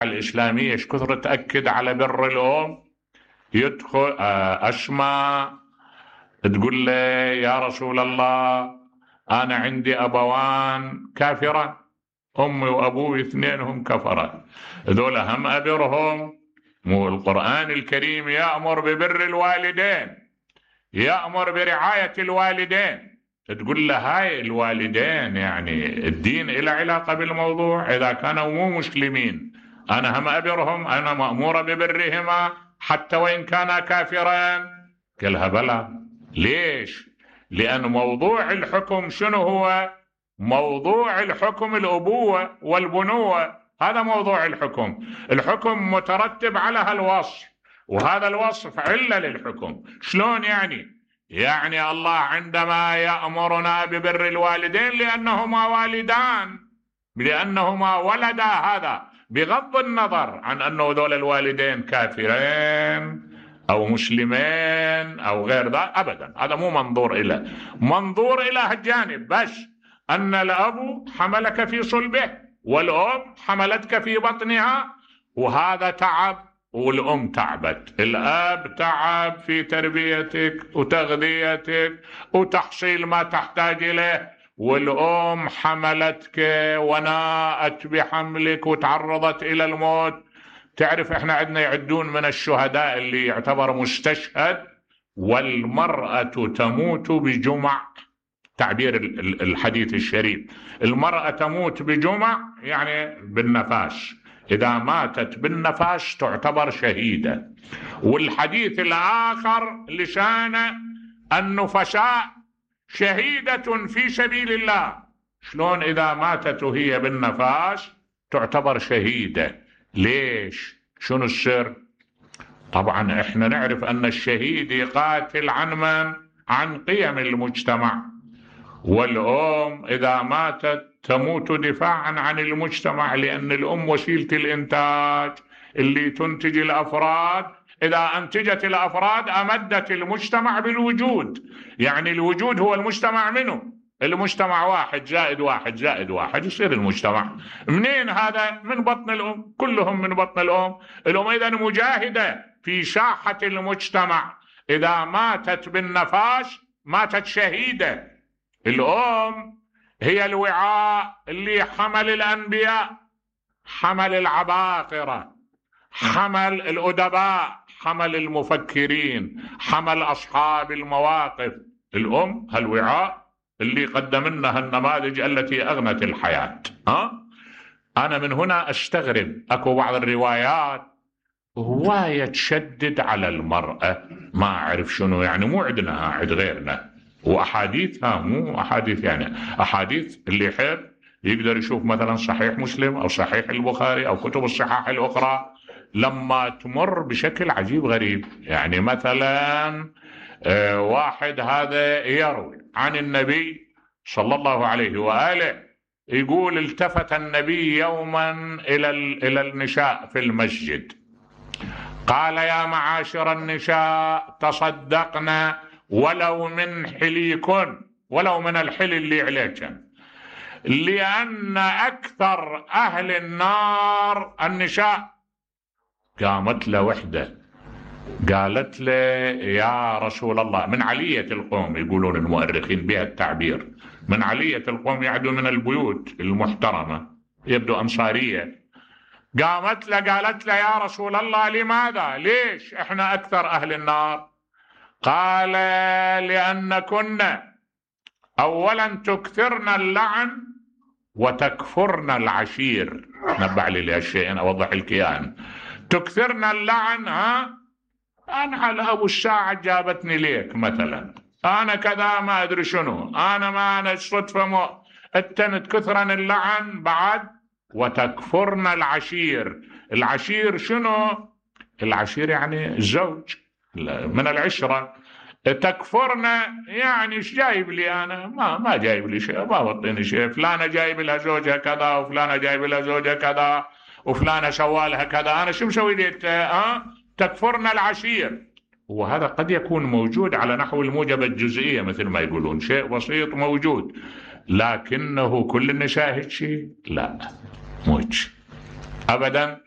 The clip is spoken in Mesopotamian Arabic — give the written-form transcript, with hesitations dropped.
الإسلامية ايش كثر تأكد على بر الأم. يدخل أسماء تقول له يا رسول الله أنا عندي أبوان كافران، أمي وأبوي اثنينهم كفرة، ذول هم أبرهم؟ مو القرآن الكريم يأمر ببر الوالدين، يأمر برعاية الوالدين. تقول له هاي الوالدين يعني الدين له علاقة بالموضوع؟ إذا كانوا مو مسلمين أنا هم أبرهم، أنا مأمورة ببرهما حتى وإن كانا كافرين؟ قالها بلى. ليش؟ لأن موضوع الحكم شنو هو؟ موضوع الحكم الأبوة والبنوة، هذا موضوع الحكم. الحكم مترتب على هالوصف، وهذا الوصف علة للحكم. شلون يعني؟ يعني الله عندما يأمرنا ببر الوالدين لأنهما والدان، لأنهما ولدا، هذا بغض النظر عن أنه ذول الوالدين كافرين أو مسلمين أو غير ذا أبدا، هذا مو منظور إله. منظور إله الجانب بس أن الأب حملك في صلبه والأم حملتك في بطنها، وهذا تعب، والأم تعبت. الأب تعب في تربيتك وتغذيتك وتحصيل ما تحتاج إليه، والأم حملتك وناءت بحملك وتعرضت إلى الموت. تعرف احنا عندنا يعدون من الشهداء اللي يعتبر مستشهد والمرأة تموت بجمع، تعبير الحديث الشريف، المرأة تموت بجمع يعني بالنفاس، إذا ماتت بالنفاس تعتبر شهيدة. والحديث الآخر لشان النفساء شهيدة في سبيل الله. شلون إذا ماتت وهي بالنفاس تعتبر شهيدة؟ ليش؟ شنو السر؟ طبعا احنا نعرف أن الشهيد يقاتل عن من؟ عن قيم المجتمع، والأم إذا ماتت تموت دفاعا عن المجتمع، لأن الأم وسيلة الإنتاج اللي تنتج الأفراد، إذا أنتجت الأفراد أمدت المجتمع بالوجود. يعني الوجود هو المجتمع منه، المجتمع 1+1+1 يصير المجتمع. منين هذا؟ من بطن الأم، كلهم من بطن الأم. الأم إذا مجاهدة في ساحة المجتمع، إذا ماتت بالنفاس ماتت شهيدة. الأم هي الوعاء اللي حمل الأنبياء، حمل العباقرة، حمل الأدباء، حمل المفكرين، حمل أصحاب المواقف. الأم هالوعاء اللي قدم لنا النماذج التي أغنت الحياة. أنا من هنا أستغرب أكو بعض الروايات هواية تشدد على المرأة، ما أعرف شنو يعني، مو عندنا عند غيرنا. وأحاديثها مو أحاديث، يعني أحاديث اللي يحب يقدر يشوف مثلا صحيح مسلم أو صحيح البخاري أو كتب الصحاح الأخرى، لما تمر بشكل عجيب غريب. يعني مثلا واحد هذا يروي عن النبي صلى الله عليه وآله، يقول التفت النبي يوما إلى النساء في المسجد، قال يا معاشر النساء تصدقنا ولو من حليكن، ولو من الحل اللي عليكن، لأن أكثر أهل النار النساء. قامت له وحدة قالت له يا رسول الله، من علية القوم، يقولون المؤرخين بها التعبير، من علية القوم يعدو من البيوت المحترمة، يبدو أنصارية. قامت له قالت له يا رسول الله لماذا؟ ليش احنا أكثر أهل النار؟ قال لأن كنا أولا تكثرن اللعن وتكفرن العشير. نبع لي لهالشيء أوضح الكيان. تكثرن اللعن، أنا على أبو الساعة جابتني ليك مثلا، أنا كذا ما أدري شنو، أنا الصدفة التنت كثرا اللعن بعد. وتكفرن العشير. العشير شنو؟ العشير يعني الزوج من العشرة. تكفرن يعني ايش جايب لي أنا؟ ما جايب لي شيء، ما بطيني شيء. فلانة جايب لها زوجها كذا، وفلانة جايب لها زوجها كذا، وفلانة سوالها كذا، أنا شو مسوي لي؟ تكفرن العشير. وهذا قد يكون موجود على نحو الموجبة الجزئية مثل ما يقولون، شيء بسيط موجود، لكنه كل النساء هيك شيء؟ لا، مو هيك أبدا.